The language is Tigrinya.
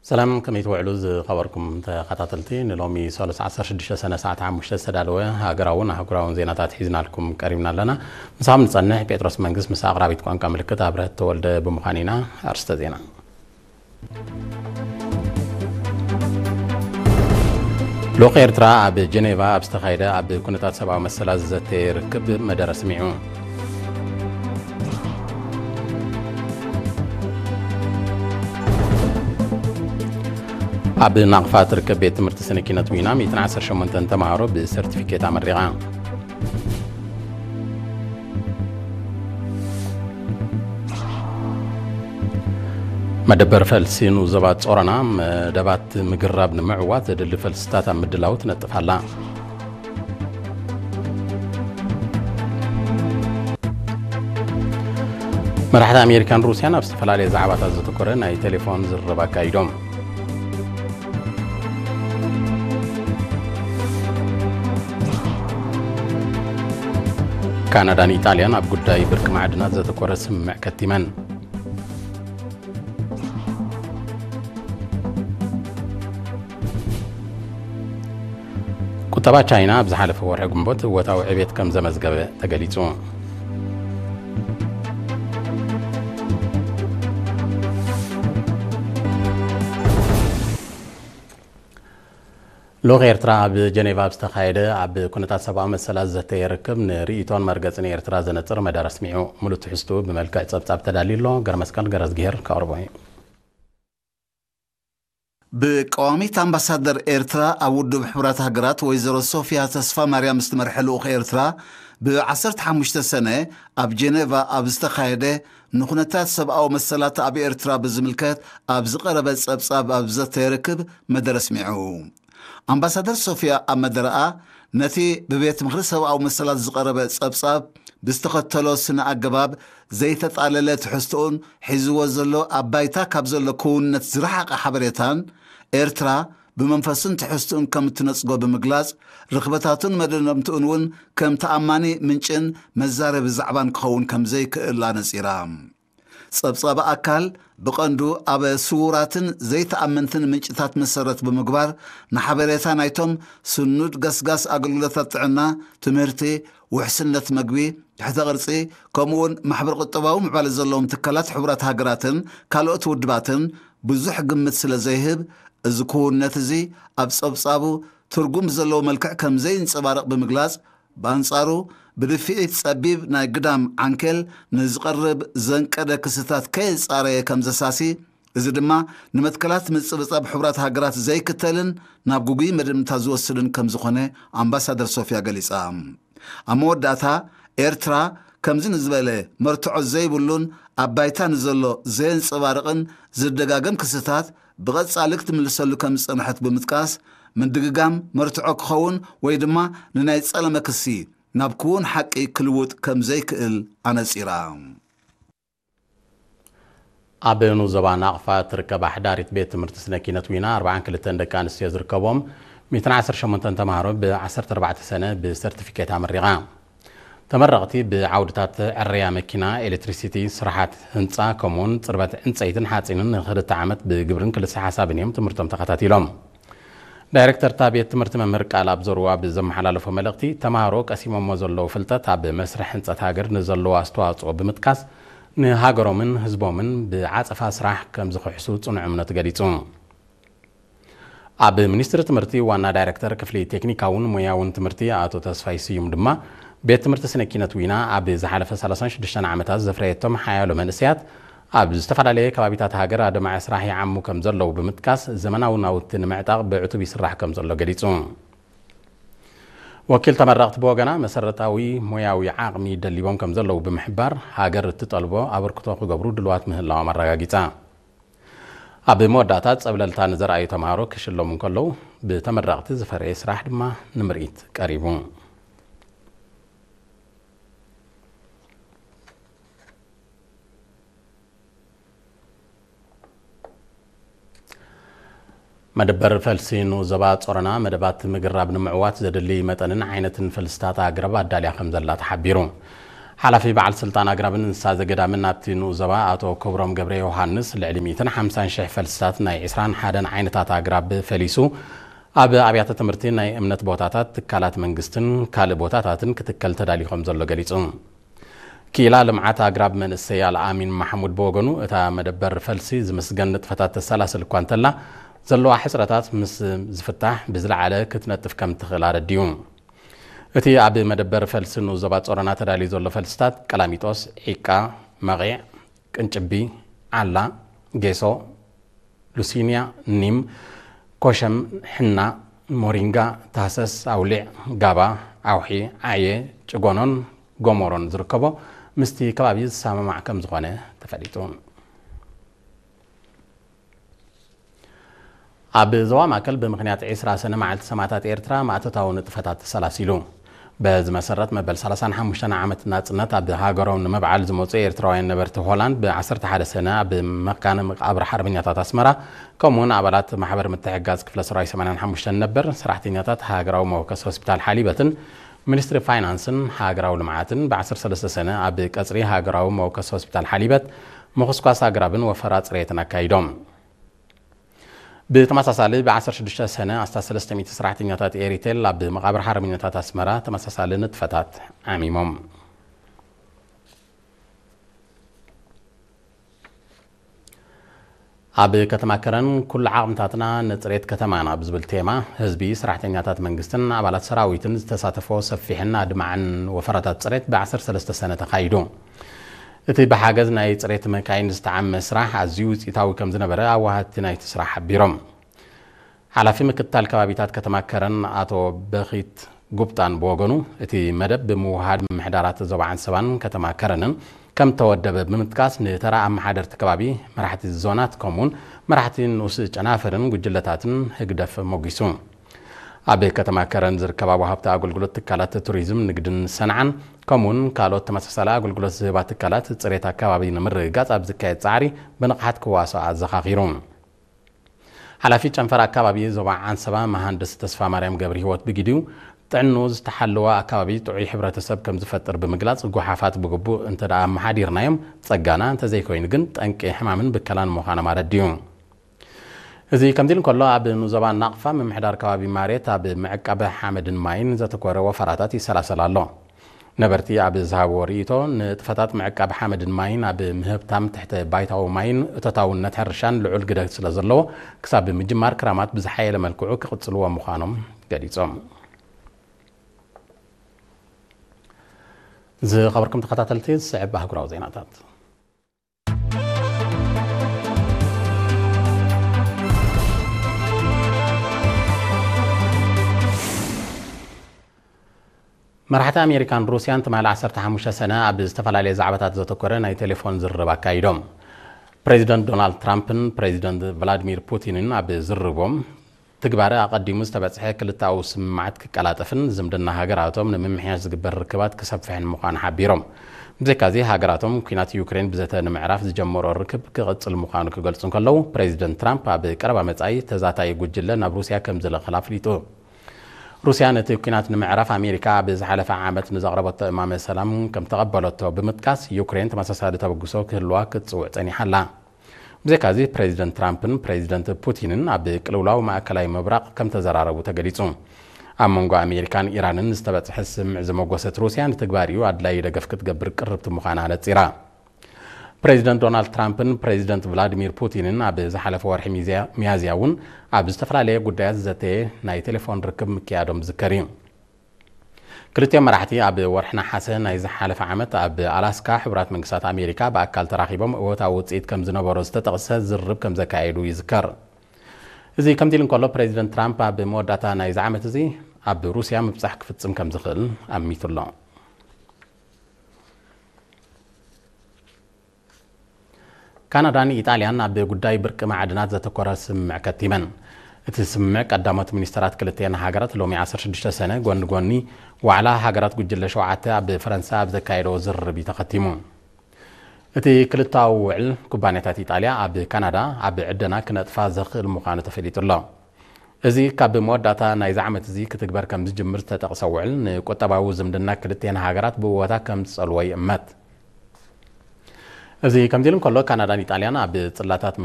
ሰላም፣ ከመይ ትውዕሉ ዝኸበርኩም ተኸታተልቲ? ንሎሚ ሰሉስ ዓሰርተ ሽዱሽተ ሰነ ሰዓት ሓሙሽተ ዝተዳለወ ሃገራውን ኣህጉራውን ዜናታት ሒዝናልኩም ቀሪብና ኣለና። ምሳኹም ንጸንሕ ጴጥሮስ መንግስት፣ ምስ ኣቕራቢት ቋንቋ ምልክት ኣብረህት ተወልደ ብምዃን ኢና። ኣርስተ ዜና። ልኡኽ ኤርትራ ኣብ ጀኔቫ ኣብ ዝተኻየደ ኣብ ኩነታት ሰብኣዊ መሰላት ዝዘተየ ርክብ መደረ ስሚዑ። ኣብ ናቕፋ ትርከብ ቤት ትምህርቲ ስነ ኪነት ዊና ሚእትን ዓሰርተ ሸሞንተን ተምሃሮ ብሰርቲፊኬት ኣመሪቓ። መደበር ፈልሲ ንዞባ ጾሮና መደባት ምግራብ ንምዕዋት ዘድሊ ፈልስታት ኣብ ምድላው ትነጥፍ ኣላ። መራሕቲ ኣሜሪካን ሩስያን ኣብ ዝተፈላለየ ዛዕባታት ዘተኮረ ናይ ቴሌፎን ዝርርብ ኣካይዶም። ካናዳን ኢጣልያን ኣብ ጉዳይ ብርቂ ማዕድናት ዘተኮረ ስምምዕ ከቲመን። ቁጠባ ቻይና ኣብ ዝሓለፈ ወርሒ ግንቦት እወታዊ ዕቤት ከም ዘመዝገበ ተገሊጹ። ልኡኽ ኤርትራ ኣብ ጀኔቫ ኣብ ዝተኻየደ ኣብ ኩነታት ሰብኣዊ መሰላት ዘተየ ርክብ ንርእይቶን መርገጽን ኤርትራ ዘነጽር መደረ ኣስሚዑ። ሙሉእ ትሕዝትኡ ብመልክዕ ጸብጻብ ተዳልዩ ኣሎ። ገረመስቀል ገረዝግሄር ከቕርቦ እዩ። ብቀዋሚት ኣምባሳደር ኤርትራ ኣብ ውድብ ሕቡራት ሃገራት ወይዘሮ ሶፊያ ተስፋ ማርያም ዝተመርሐ ልኡኽ ኤርትራ ብ ዓሰርተ ሓሙሽተ ሰነ ኣብ ጀኔቫ ኣብ ዝተኻየደ ንኩነታት ሰብኣዊ መሰላት ኣብ ኤርትራ ብዝምልከት ኣብ ዝቐረበ ጸብጻብ ኣብ ዘተየ ርክብ መደረ ኣስሚዑ። ኣምባሳደር ሶፊያ ኣብ መደረኣ ነቲ ብቤት ምኽሪ ሰብኣዊ መሰላት ዝቐረበ ጸብጻብ ብዝተኸተሎ ስነ ኣገባብ ዘይተጣለለ ትሕዝቶኡን ሒዝዎ ዘሎ ኣብ ባይታ ካብ ዘሎ ክውንነት ዝረሓቐ ሓበሬታን ኤርትራ ብመንፈሱን ትሕዝቶኡን ከም እትነጽጎ ብምግላጽ፣ ርኽበታቱን መደምደምትኡን እውን ከም ተኣማኒ ምንጭን መዛረቢ ዛዕባን ክኸውን ከም ዘይክእል ኣነጺራ። ጸብጻብ ኣካል ብቐንዱ ኣብ ስዉራትን ዘይተኣመንትን ምንጭታት መሰረት ብምግባር፣ ንሓበሬታ ናይቶም ስኑድ ገስጋስ ኣገልግሎታት ጥዕና፣ ትምህርቲ፣ ውሕስነት መግቢ፣ ትሕተ ቅርጺ፣ ከምኡውን ማሕበረ ቁጠባዊ ምዕባለ ዘለዎም ትካላት ሕቡራት ሃገራትን ካልኦት ውድባትን ብዙሕ ግምት ስለ ዘይህብ፣ እዚ ክውንነት እዚ ኣብ ጸብጻቡ ትርጉም ዘለዎ መልክዕ ከም ዘይንጸባረቕ ብምግላጽ፣ ብኣንጻሩ፣ ብድፍኢት ጸቢብ ናይ ግዳም ዓንኬል ንዝቐርብ ዘንቀደ ክስታት ከየጻረየ ከም ዘሳሲ፣ እዚ ድማ ንመትከላት ምጽብጻብ ሕቡራት ሃገራት ዘይክተልን ናብ ግጉይ መደምድምታ ዝወስድን ከም ዝኾነ ኣምባሳደር ሶፊያ ገሊጻ። ኣብ መወዳእታ፣ ኤርትራ ከምዚ ንዝበለ መርትዖ ዘይብሉን ኣብ ባይታ ንዘሎ ዘየንጸባርቕን ዝደጋገም ክስታት ብቐጻሊ ክትምልሰሉ ከም ዝጸንሐት ብምጥቃስ፣ ምድግጋም መርትዖ ክኸውን ወይ ድማ ንናይ ጸለመ ክሲ ናብ ክውን ሓቂ ክልውጥ ከም ዘይክእል ኣነጺራ። ኣብ ንኡስ ዞባ ናቕፋ ትርከብ ኣሕዳሪት ቤት ትምህርቲ ስነ ኪነት ዊና ኣርብዓን ክልተን ደቂ ኣንስትዮ ዝርከቦም ሚእትን ዓሰርተ ሸሞንተን ተምሃሮ ብ ዓሰርተ ኣርባዕተ ሰነ ብሰርቲፊኬት ኣመሪቓ። ተመረቕቲ ብዓውድታት ዕረያ መኪና፣ ኤሌክትሪሲቲ፣ ስራሓት ህንጻ፣ ከምኡውን ጽርበት ዕንጸይትን ሓጺንን ንክልተ ዓመት ብግብርን ክልሰ ሓሳብን እዮም ትምህርቶም ተኸታቲሎም። ዳይሬክተር እታ ቤት ትምህርቲ መምህር ቃል ኣብ ዘርዋ ብዘመሓላለፎ መልእኽቲ፣ ተምሃሮ ቀሲሞሞ ዘለዉ ፍልጠት ኣብ መስርሕ ህንጸት ሃገር ንዘለዎ ኣስተዋጽኦ ብምጥቃስ፣ ንሃገሮምን ህዝቦምን ብዓጸፋ ስራሕ ከም ዝኽሕሱ ጽኑዕ እምነቱ ገሊጹ። ኣብ ሚኒስትሪ ትምህርቲ ዋና ዳይሬክተር ክፍሊ ቴክኒካውን ሞያውን ትምህርቲ ኣቶ ተስፋይ ስዩም ድማ፣ ቤት ትምህርቲ ስነ ኪነት ዊና ኣብ ዝሓለፈ ሰላሳን ሽዱሽተን ዓመታት ዘፍረየቶም ሓያሎ መንእሰያት ኣብ ዝተፈላለየ ከባቢታት ሃገር ኣድማዒ ስራሕ ይዓሙ ከም ዘለዉ ብምጥቃስ፣ ዘመናዊ ናውቲ ንምዕጣቕ ብዕቱብ ይስራሕ ከም ዘሎ ገሊጹ። ወኪል ተመረቕቲ ብወገና፣ መሰረታዊ ሞያዊ ዓቕሚ ደሊቦም ከም ዘለዉ ብምሕባር፣ ሃገር እትጠልቦ ኣበርክቶ ክገብሩ ድልዋት ምህላዎም ኣረጋጊጻ። ኣብ መወዳእታ፣ ጸብለልታ ንዘርኣዩ ተምሃሮ ክሽለሙ እንከለዉ፣ ብተመረቕቲ ዝፈረየ ስራሕ ድማ ንምርኢት ቀሪቡ። መደበር ፈልሲ ንኡስ ዞባ ጾሮና፣ መደባት ምግራብ ንምዕዋት ዘድሊ መጠንን ዓይነትን ፈልስታት ኣግራብ ኣዳልያ ከም ዘላ ተሓቢሩ። ሓላፊ በዓል ስልጣን ኣግራብን እንስሳ ዘገዳምን ኣብቲ ንኡስ ዞባ ኣቶ ክብሮም ገብረ ዮሃንስ፣ ልዕሊ ሚእትን ሓምሳን ሽሕ ፈልስታት ናይ ዕስራን ሓደን ዓይነታት ኣግራብ ፈሊሱ ኣብ ኣብያተ ትምህርቲ፣ ናይ እምነት ቦታታት፣ ትካላት መንግስትን ካልእ ቦታታትን ክትከል ተዳልዩ ከም ዘሎ ገሊጹ። ክኢላ ልምዓት ኣግራብ መንእሰይ ኣልኣሚን ማሕሙድ ብወገኑ፣ እታ መደበር ፈልሲ ዝምስገን ንጥፈታት ተሰላስል እኳ እንተላ፣ ዘለዋ ሕጽረታት ምስ ዝፍታሕ ብዝለዓለ ክትነጥፍ ከም ትኽእል ኣረዲኡ። እቲ ኣብ መደበር ፈልሲ ንኡስ ዞባ ጾሮና ተዳልዩ ዘሎ ፈልስታት ቀላሚጦስ፣ ዒቃ፣ መቒዕ፣ ቅንጭቢ፣ ዓላ፣ ጌሶ፣ ሉሲንያ፣ ኒም፣ ኮሸም፣ ሕና፣ ሞሪንጋ፣ ታህሰስ፣ ኣውሊዕ፣ ጋባ፣ ኣውሒ፣ ዓየ፣ ጭጎኖን ጎሞሮን ዝርከቦ ምስቲ ከባቢ ዝሰማማዕ ከም ዝኾነ ተፈሊጡ። ኣብ ዞባ ማእከል ብምኽንያት ዕስራ ሰነ መዓልቲ ሰማእታት ኤርትራ ማእቶታዊ ንጥፈታት ተሰላሲሉ። በዚ መሰረት መበል ሰላሳን ሓሙሽተን ዓመት ናጽነት ኣብ ሃገሮም ንምብዓል ዝመጹ ኤርትራውያን ነበርቲ ሆላንድ ብ ዓሰርተ ሓደ ሰነ ኣብ መካነ መቃብር ሓርበኛታት ኣስመራ፣ ከምኡውን ኣባላት ማሕበር ምትሕጋዝ ክፍለ ሰራዊት ሰማንያን ሓሙሽተን ነበር ሰራሕተኛታት ሃገራዊ መወከሲ ሆስፒታል ሓሊበትን ሚኒስትሪ ፋይናንስን ሃገራዊ ልምዓትን ብ ዓሰርተ ሰለስተ ሰነ ኣብ ቀጽሪ ሃገራዊ መወከሲ ሆስፒታል ሓሊበት ምኹስኳስ ኣግራብን ወፈራ ጽሬትን ኣካይዶም። ብተመሳሳሊ ብ ዓሰርተ ሽዱሽተ ሰነ ኣስታት ሰለስተ ሚእቲ ሰራሕተኛታት ኤሪቴል ኣብ መቓብር ሓርበኛታት ኣስመራ ተመሳሳሊ ንጥፈታት ዓሚሞም። ኣብ ከተማ ከረን ኩሉ ዓቕምታትና ንጽሬት ከተማና ብዝብል ቴማ ህዝቢ፣ ሰራሕተኛታት መንግስትን ኣባላት ሰራዊትን ዝተሳተፎ ሰፊሕን ኣድማዕን ወፈራታት ጽሬት ብ ዓሰርተ ሰለስተ ሰነ ተኻይዱ። እቲ ብሓገዝ ናይ ጽሬት መካይን ዝተዓመ ስራሕ ኣዝዩ ውጽኢታዊ ከም ዝነበረ ኣዋሃድቲ ናይቲ ስራሕ ሓቢሮም። ሓላፊ ምክትታል ከባቢታት ከተማ ከረን ኣቶ በኺት ጉብጣን ብወገኑ፣ እቲ መደብ ብምውሃድ ምምሕዳራት ዞባ ዓንሰባን ከተማ ከረንን ከም ተወደበ ብምጥቃስ፣ ንተራ ኣመሓደርቲ ከባቢ፣ መራሕቲ ዞናት፣ ከምኡውን መራሕቲ ንኡስ ጨናፍርን ጉጅለታትን ህግደፍ ሞጊሱ። ኣብ ከተማ ከረን ዝርከባ ወሃብቲ ኣገልግሎት ትካላት ቱሪዝም፣ ንግድን ሰንዓን፣ ከምኡውን ካልኦት ተመሳሳሊ ኣገልግሎት ዝህባ ትካላት፣ ጽሬት ኣከባቢ ንምርግጋጽ ኣብ ዝካየድ ጻዕሪ ብንቕሓት ክዋስኦ ኣዘኻኺሩ። ሓላፊ ጨንፈር ኣከባቢ ዞባ ዓንሰባ መሃንድስ ተስፋ ማርያም ገብረ ህይወት ብግዲኡ፣ ጥዕንኡ ዝተሓለወ ኣከባቢ ጥዑይ ሕብረተሰብ ከም ዝፈጥር ብምግላጽ፣ ጎሓፋት ብግቡእ እንተ ደኣ ኣመሓዲርናዮም ጸጋና፣ እንተዘይኮይኑ ግን ጠንቂ ሕማምን ብከላን ምዃኖም ኣረዲኡ። እዚ ከምዚ ኢሉ እንከሎ፣ ኣብ ንኡስ ዞባ ናቕፋ ምምሕዳር ከባቢ ማሬት ኣብ ምዕቃብ ሓመድን ማይን ዘተኮረ ወፈራታት ይሰላሰል ኣሎ። ነበርቲ ኣብ ዝሃብዎ ርእይቶ፣ ንጥፈታት ምዕቃብ ሓመድን ማይን ኣብ ምህብታም ትሕተ ባይታዊ ማይን እቶታውነት ሕርሻን ልዑል ግደ ስለ ዘለዎ፣ ክሳብ ምጅማር ክራማት ብዝሓየለ መልክዑ ክቕጽልዎ ምዃኖም ገሊጾም። ዝኸበርኩም ተኸታተልቲ፣ ዝስዕብ ኣህጉራዊ ዜናታት። መራሕቲ ኣሜሪካን ሩስያን ትማሊ ዓሰርተ ሓሙሽተ ሰነ ኣብ ዝተፈላለየ ዛዕባታት ዘተኮረ ናይ ቴሌፎን ዝርርብ ኣካይዶም። ፕሬዚደንት ዶናልድ ትራምፕን ፕሬዚደንት ቭላዲሚር ፑቲንን ኣብ ዝርርቦም፣ ትግባረ ኣቐዲሙ ዝተበጽሐ ክልተኣዊ ስምምዓት ክቀላጠፍን ዝምድና ሃገራቶም ንምምሕያሽ ዝግበር ርክባት ክሰፍሕን ምዃኑ ሓቢሮም። ብዘይካዚ፣ ሃገራቶም ኲናት ዩክሬን ብዘተ ንምዕራፍ ዝጀመሮ ርክብ ክቕጽል ምዃኑ ክገልጹ እንከለዉ፣ ፕሬዚደንት ትራምፕ ኣብ ቀረባ መጻኢ ተዛታዪ ጉጅለ ናብ ሩስያ ከም ዝልእኽን ኣፍሊጡ። ሩስያ ነቲ ኲናት ንምዕራፍ ኣሜሪካ ኣብ ዝሓለፈ ዓመት ንዘቕረበቶ እማመ ሰላም ከም ተቐበለቶ ብምጥቃስ፣ ዩክሬን ተመሳሳሊ ተበግሶ ክህልዋ ክትጽውዕ ጸኒሓ ኣላ። ብዘይካዚ፣ ፕሬዚደንት ትራምፕን ፕሬዚደንት ፑቲንን ኣብ ቅልውላው ማእከላይ ምብራቕ ከም ተዘራረቡ ተገሊጹ። ኣብ መንጎ ኣሜሪካን ኢራንን ዝተበጽሐ ስምምዕ ዘመጎሰት ሩስያ፣ ንትግባሪኡ ኣድላዪ ደገፍ ክትገብር ቅርብቲ ምዃና ኣነጺራ። ፕሬዚደንት ዶናልድ ትራምፕን ፕሬዚደንት ቭላዲሚር ፑቲንን ኣብ ዝሓለፈ ወርሒ ሚዝያ-፣ ሚያዝያ እውን ኣብ ዝተፈላለየ ጉዳያት ዝዘተየ ናይ ቴሌፎን ርክብ ምክያዶም ዝዝከር እዩ። ክልቲኦም መራሕቲ ኣብ ወርሒ ነሓሰ ናይ ዝሓለፈ ዓመት ኣብ ኣላስካ ሕቡራት መንግስታት ኣሜሪካ ብኣካል ተራኺቦም እወታዊ ውፅኢት ከም ዝነበሮ ዝተጠቕሰ ዝርርብ ከም ዘካየዱ ይዝከር። እዚ ከምዚ ኢሉ እንከሎ፣ ፕሬዚደንት ትራምፕ ኣብ መወዳእታ ናይዚ ዓመት እዚ ኣብ ሩስያ ምብጻሕ ክፍጽም ከም ዝኽእል ኣሚቱ ኣሎ። ካናዳን ኢጣልያን ኣብ ጉዳይ ብርቂ ማዕድናት ዘተኮረ ስምምዕ ከቲመን። እቲ ስምምዕ ቀዳሞት ሚኒስተራት ክልቲአን ሃገራት ሎሚ ዓሰርተ ሽዱሽተ ሰነ ጎኒ ጎኒ ዋዕላ ሃገራት ጉጅለ ሸውዓተ ኣብ ፈረንሳ ኣብ ዘካየደዎ ዝርርብ እዩ ተኸቲሙ። እቲ ክልተኣዊ ውዕል፣ ኩባንያታት ኢጣልያ ኣብ ካናዳ ኣብ ዕደና ክነጥፋ ዘኽእል ምዃኑ ተፈሊጡ ኣሎ። እዚ ካብ መወዳእታ ናይዚ ዓመት እዚ ክትግበር ከም ዝጅምር ዝተጠቕሰ ውዕል፣ ንቁጠባዊ ዝምድና ክልቲኤን ሃገራት ብእወታ ከም ዝጸልዎ ይእመት። እዚ ከምዚ ኢሉ እንከሎ፣ ካናዳን ኢጣልያን ኣብ ጽላታት